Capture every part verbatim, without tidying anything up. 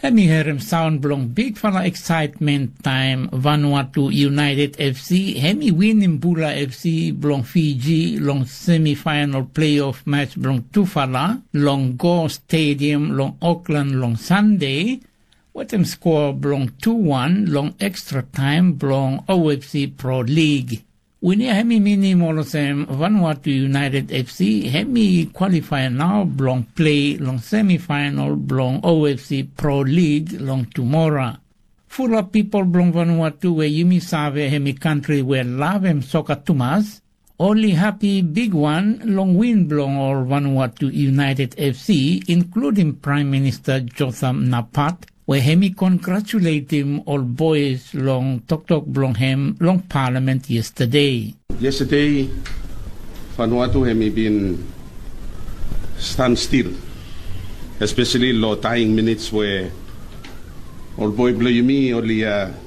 Hem i herem saon blong bigfala eksaetmen taem Vanuatu United FC hem i winim Bula FC blong Fiji long semifaenol pleiof match blong tufala long Gore Stadium long Auckland long Sande wetem skoa blong tu wan long ekstra taem blong OFC Pro League. Win ya hem i minim olsem Vanuatu United FC hem i kwalifae nao blong plei long semifaenol blong OFC Pro League long tumora. Fulap pipol blong Vanuatu we yumi save hem i kantri we lavem soka tumas oli hapi bigwan long win blong ol Vanuatu United FC inkludim Praem Minista Jotham Napat we hem i kongratuletem ol boes long toktok blong hem long palamen yestade. Yestade Vanuatu hem i bin stanstil espeseli long taing minits we ol boe blong yumi oli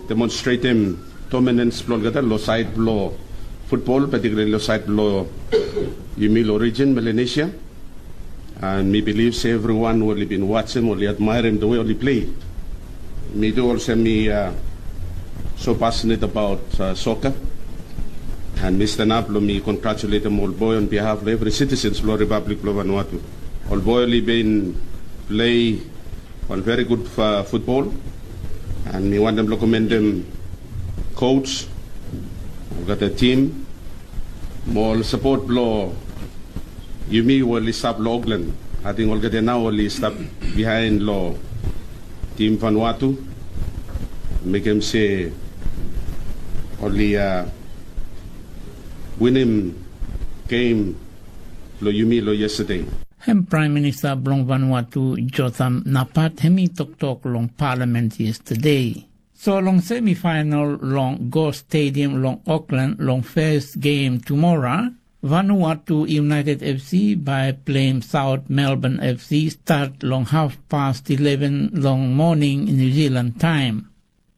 demonstretem dominans blong olgeta long saed blong futbol patikulali long saed blong yumi long rijin Melanesia. And mi bilif se evriwan oli bin wajem oli admaerem de we oli plei. Mi tu olsem mi so pasnet abaot soka. And mi stanap blong mi kongratuletem ol boe on bihaf blong evri sitisens blong ripablik blong Vanuatu. Ol boe oli bin plei wan veri gud futbol. And mi wantem blong komendem kos olgeta tim mo ol sapot blong yumi we oli stap long Auckland. Ating olgeta nao oli stap bihaen long tim Vanuatu mekem se oli winim gem blong yumi long yestade. Hem Praem Minista blong Vanuatu Jotham Napat hem i toktok long palamen yestade. So long semifaenol long Gore Stadium long Auckland long fes gem tumora, Vanuatu United FC bae pleim Saot Melbourne FC stat long hafpas ileven long moning Niu Zilan taem.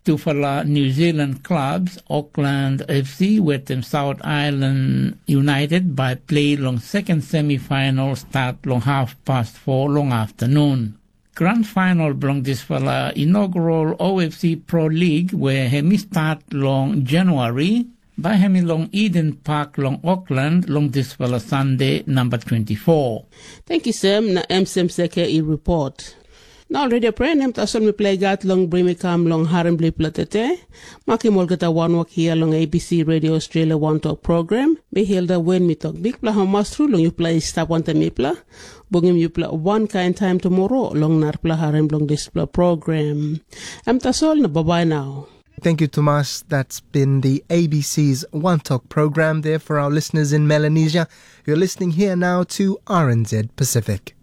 Tufala Niu Zilan klabs Auckland FC wetem Saot Aelan United bae plei long seken semifaenol stat long hafpas fo long aftanun. Gran faenol blong disfala inogral OFC Pro Lig we hem i stat long Januari bae hem i long Iden Pak long Okland long disfala Sande namba twenti fo. Tangkiu Sem, na Emsem Seke i ripot. Nao ol redio pren, hem tasol mipela i gat long bringim i kam long harim bilong yupela tete. Makim olgeta wanwok hia long ABC Radio Australia Wantok Program. Mi Hilda Wen mi tok bikpela hamas tru long yupela i stap wantaim mipela. Bungim yupela wankain taim tumora long narapela harim bilong dispela program. Em tasol na babai nau. Thank you, Tomas. That's been the A B C's One Talk program there for our listeners in Melanesia. You're listening here now to R N Z Pacific.